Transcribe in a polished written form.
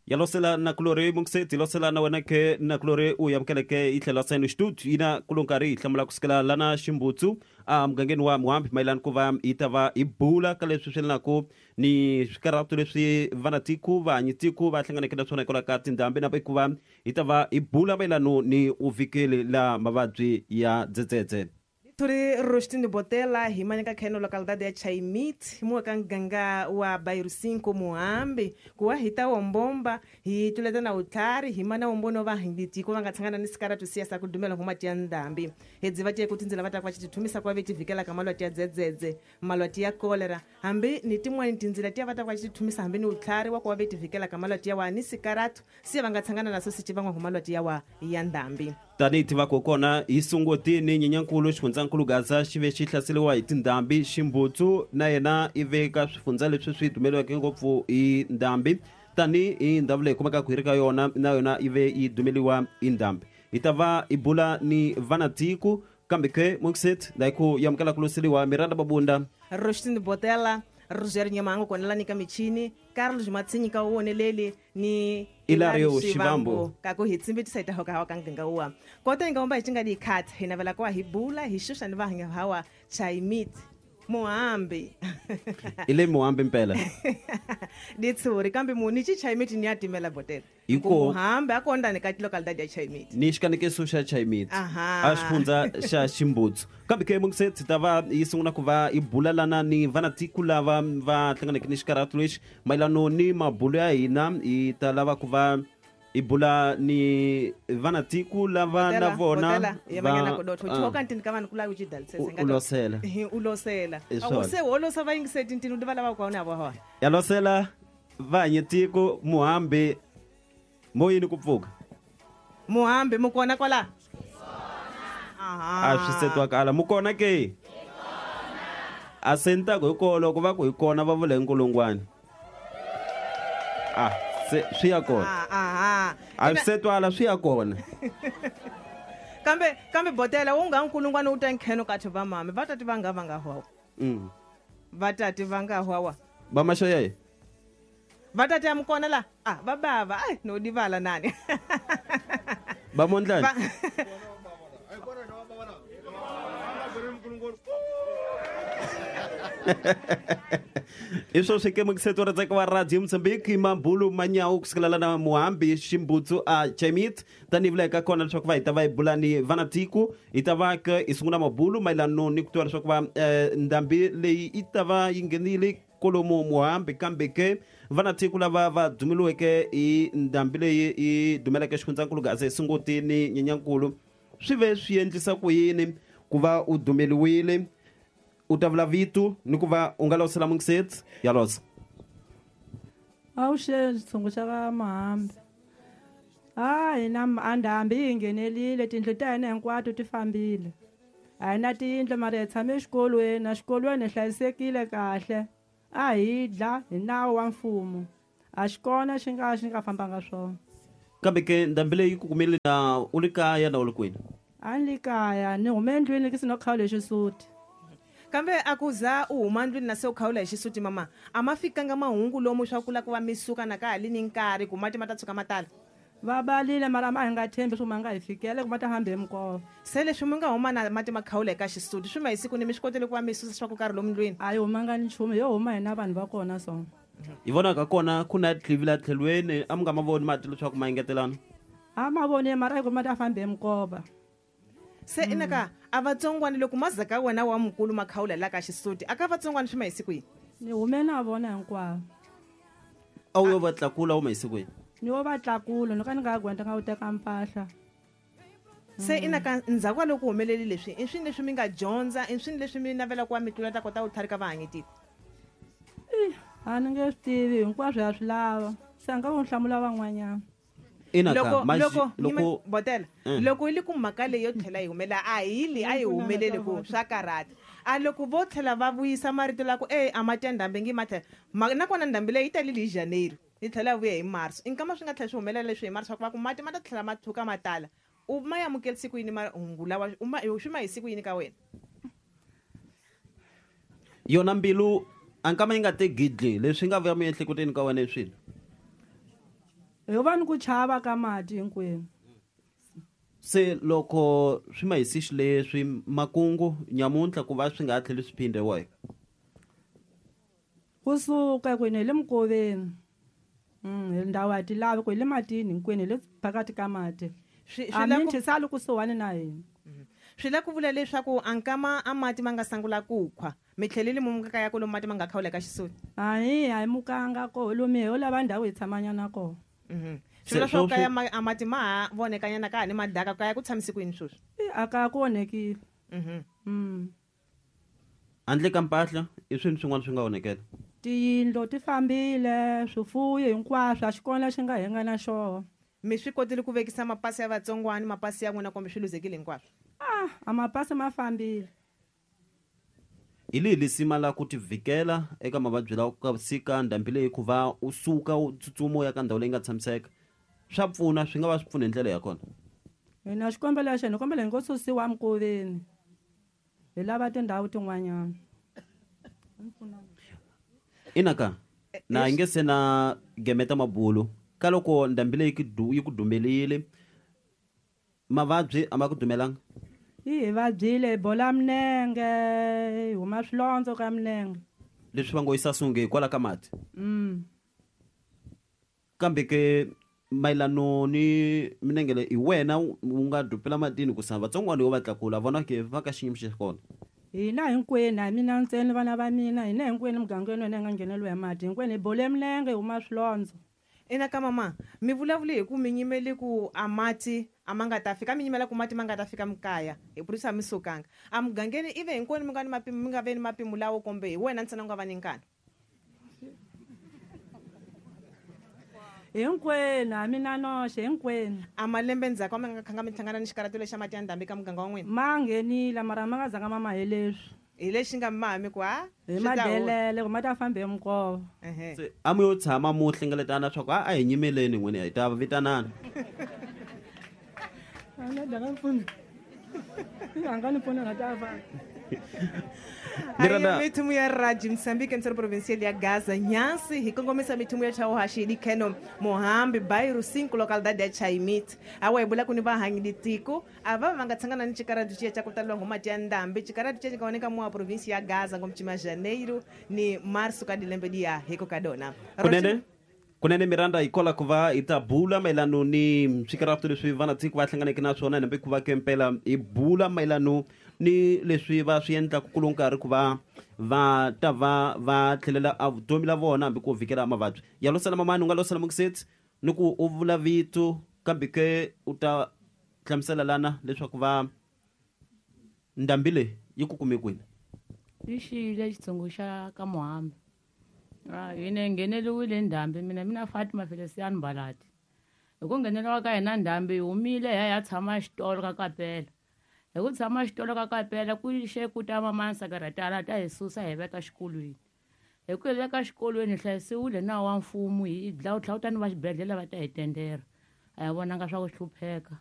Yalosela nakulori mungiseti losela na wena ke nakulori u amukeleke yi tlhela seno xitutu yina kulo nkarhi hi hlamula kusukela lana ximbutsu a mugangeni wa muhambi mayelana ku va yi ta va hi bula ka leswi swi lanaku ni swikarhato leswi vanatiko vahanyitiko va hlanganeke na swona hikwalaho ka tindhambi na ku va hi ta va hi bula mayelano ni uvikeli la mavabyi ya dzedzedze. Turi Rostini Botela hi manyaka kheno localidade ya Chaimit muwa ka nganga wa Bairro 5 Muhambi kuwa hi ta wombomba hi tuleta na utlhari hi mana wombono va hinditiko va nga tshangana ni sikaratu siya sa ku dumela ngoma ya ndhambi hedzi va tiye ku tindzela va ta kwa chithumisa kwa veti vikela ka malwati ya dzedzedze malwati ya kolera hambi ni tin'wani tindzila tiya va ta kwa chithumisa hambi ni utlhari wa kuwa veti vikela ka malwati ya wa ni sikaratu siya va nga tshangana naso sici van'wa malwati ya wa ya ndhambi. Tanihi tivaka kona hi sungutini nyenyankulu xifundzankulu Gaza xi ve xi hlaseriwa hi tindhambi ximbutsu na yena i ve ka swifundza leswi swi dumeliweke ngopfu hi ndhambi tanihi ndhawu leyi kumekaka hi ri ka yona na yona yi ve yi dumeliwa hi ndhambi. Hi ta va hi bula ni vanatiko kambe ke mungiset la ku yamukela ku loseliwa Miranda Mabunda Rostini Botela Roger Nyamango konelani ka michini Carlos Matsinyi ka woneleli ni Ilario Shivambu ka ku hi tsimbitisa hi ta hoka hawa ka nganga wa kota hi nga omba hi cinga di khat hi navela kwa hi bula hi xuxa ni va hawa Chaimit Muhambi ile Muhambi mpela ditshuri kambe muni chi Chaimit ni ya timela Botela Hiko Muhambi akonda ni ka localidade ya Chaimit ni xikanekiso xa Chaimit Aha. a xifundza xa Ximbutsu kambe ke mungisetsi ta va yi sungula ku va yi bulalana ni vanatiko lava va hlanganeke ni xikarhato lexi mayelano ni mabulo ya hina hi ta lava ku va hi bula ni vanatiko lava na vona va manyana kodotho choka ntini ka vanhu kula uchidalisese U losela. U losela Hi swona. Se holosa va yingiseti ntini u va lava ku na vo ya losela vahanyetiko Muhambi moyini ku pfuka Muhambi mukona kwala a swi se twakala mukona ke a se ni ta ku hi kona loko va ku hi kona va vula hi nkulungwana a se swi ya kona a swi se twala swi ya kona kambe Botela wu nga nkulungwana wu ta nkheno ka va mami va tati va nga va nga hwawa va tati va nga hwawa va maxa yeye va tati ya mukona la a va bava ai no divala nani va mondlani i swo swi ke mukiseto ra tsaka wa radio Mozambique mabulu manyawu kusukela lana Muhambi Ximbutsu a Chaimit tanihi vula eka kona leswaku va hi ta va hi bula ni vanatiko hi ta va ke hi sungula mabulu mayelano ni ku tiva leswaku va ndhambi leyi yi ta va yi nghenile kolomu Muhambi kambe ke vanatiko lava va dumeliweke hi ndhambi leyi yi dumeleke xifundzankulu Gaza hi sungutini nyenyankulu swi ve swi endlisa ku yini ku va u dumeliwile u ta vula vito ni ku va u nga losela mungisetsi ya losa A wu xe xitshungu xa ka Muhambi a hina a ndhambi yi nghenelile tindlu ta hina hinkwato ti fambile a hi na tiyindlu mara hi tshame exikolweni exikolweni hi hlayisekile kahle a hi dla hi nawu wa mfumo a xi kona xi nga fambanga swona kambe ke ndhambi leyi ku kumile na u li kaya na u li kwini a ni li kaya ni hume endlwini ki sino khawula hi xisuti kambe a ku za u huma ndlwini na se u khawula hi xisuti mama a ma fikanga mahungu lomu swa ku la ku va mi suka na ka ha li ni nkarhi ku mati ma ta tshuka ma tala va balile mara ma hi nga tshembi swo ma nga hi fikela ku ma ta hambi hi minkova se leswi mi nga huma na mati ma khawula eka xisuti swi ma hi siku ni mi swi kotile ku va mi susa swa ku karhi lomu ndlwini a yi humanga ni nchumu yo huma hina vanhu va kona so hi vonaka kona ku na tlivi la tlhelweni a mi nga ma voni mati leswaku ma engetelana a ma voni mara ku ma ta fambi hi minkova se inaka a vatsongwani loko mazaka wena wa mukulu ma khawula la ka xisuti a ka vatsongwani swi ma hi siku yini ni hume na vona hinkwavo a wu yo va tlakula wu ma hi siku yini ni wo va tlakula ni ka ni nga gwenta nga wu teka mpahla se inaka ndzhaku ka loko humeleli leswi i swini leswi mi nga dyondza i swini leswi mi navela ku va mi tlula ta kota ku tlharika vahanyetiko a ni nge swi tivi hinkwaswo ya swi lava se a nga ku hlamula van'wanyana loko Botela loko yi li ku mhaka leyi yo tlhela yi humela a hi li a yi humeleli ku swa karhata a loko vo tlhela va vuyisa marito la ku e a mati ya ndhambi ngi ma tlhela nakona ndhambi leyi yi talile hi Janeiro yi tlhela yi vuya hi Marso i nkama swi nga tlhela swi humelela leswi hi Marso swa ku va ku mati ma ta tlhela ma tshuka ma tala u ma amukelisi ku yini mahungu lawa u ma swi ma hi siku yini ka wena yona mbilu a nkama yi nga te gidli leswi nga vuya miehleketweni ka wena i swilo Hi va ni ku chava ka mati hinkwenu. Se loko swi ma hisi xileswi makungu nyamuntlha ku va swi nga ha tlheli swi phinde wahi? Kusuka kwini hi le mikoveni. Hi ndhawu a ti lavi ku hi le matini hinkwenu hi le phakathi ka mati. Swi la ku Aminthi sali kusuhani na hina. Swi la ku vula leswaku a nkama a mati ma nga sangula ku khwa mi tlheleli mu kaya ku lomu mati ma nga khawula ka xisoni. Hayi a hi mukanga koho lomu ho lava ndhawu hi tshamanyana koho. Swi vula swa kaya a mati ma ha vonekanyana ka ha ni madaka kaya ku tshamisi ku yini sweswi? A kaya ku onhekile. Handle ka mpahla i swini swin'wana swi nga onhekela? Tiyindlu ti fambile, swifuwo hinkwaswo a xi kona lexi nga henga na xoho. Mi swi kotile ku vekisa mapasi ya vatsongwana, mapasi ya n'wina kumbe swi luzekile hinkwaswo? A mapasi ma fambile. Hi lihi lisima la ku tivhikela eka mavabyi lawa ku sika ndhambi leyi ku va u suka u tsutsuma u ya ka ndhawu leyi nga tshamiseka? Swa pfuna, swi nga va swi pfuna hi ndlela ya kona. Hina xikombelo xa hina kombela hi ngo susiwa mikoveni. Hi lava tindhawu tin'wanyana. Ina ka na yi nge se na gemeta mabulu ka loko ndhambi leyi yi ku dumelile mavabyi a ma ku dumelanga? Yi hi vabyile, hi bola minenge, hi huma swilondzo ka minenge. Leswi va ngo yisa sunge hikwalaho ka mati. Kambe ke mayelano ni minenge leyi hi wena u nga dupela matini ku sa vatsongwana yo va tlakula vona ke va ka xiyimo xa kona. Hina hinkwenu a mina ntsena vana va mina hina hinkwenu mugangeni wena hi nga ngheneliwa hi mati hinkwenu hi bole minenge hi huma swilondzo. Ina ka mama mi vulavule hi ku mi nyimele ku a mati a ma nga ta fika mi nyimela ku mati ma nga ta fika mikaya hi purisa mi sukanga a mugangeni ive hinkwenu mi nga ni mapimo mi nga ve ni mapimo lawo kumbe hi wena ntsena u nga va ni nkani? Hinkwenu a mina noxe hinkwenu. A malembe ndzhaku a mi nga khanga mi hlangana ni xikarato lexa mati ya ndhambi ka muganga wa n'wina? Ma nghenile mara ma nga zanga ma ma hi leswi. Hi lexi nga ma mi ku ha hi madelele ku ma ta fambe hi minkova. Se a mi yo tshama mu hlengeletana swa ku a hi nyimeleni n'wina hi ta vitanana. A nga ni pfuna nga ta fa. Ayi mithumu ya Raji Msambiki mtsero provincial ya Gaza Nyansi hi kongomisa mithumu ya Chauhashi Dikheno Mohambi Bairro 5 localidade ya Chaimit awa hi bula ku ni vahanyi ditiko a va va nga tshangana ni xikaratu xiya xa ku taleriwa hi mati ya ndhambi xikaratu xiya xi nga oneka mowa provinsi ya Gaza ngomchima Janeiro ni Marso ka dilembe diya hiko ka dona. Kunene Miranda hi kola ku va hi ta bula mayelano ni swikaratu leswi vanatiko va hlanganeke na swona hambi ku va ke mpela hi bula mayelano ni leswi va swi endlaka ku lo nkarhi ku va va ta va va tlhelela a vutomi la vona hambi ku vhikela mavabyi ya losala mamani u nga losala mukiseti ni ku u vula vito kambe ke u ta hlamusela lana leswaku va ndhambi leyi yi ku kume kwini. Yi xiyile xitshungu xa ka Muhambi. Hina hi ngheneliwile ndhambi mina Fatima Feliciano Mbalati. Hi ku ngheneliwa ka hina ndhambi hi humile hi ya hi ya tshama xitolo ka Kapela. Hi ku tshama xitolo ka Kapela ku xe ku ta mamani Sakaratala ta hi susa hi veka xikolweni. Hi ku hi veka xikolweni hi hlayisiwile nawu wa mfumo hi dlawu tlhawutani va xibedhlele va ta hi tendera. A hi vonanga swa ku hlupheka.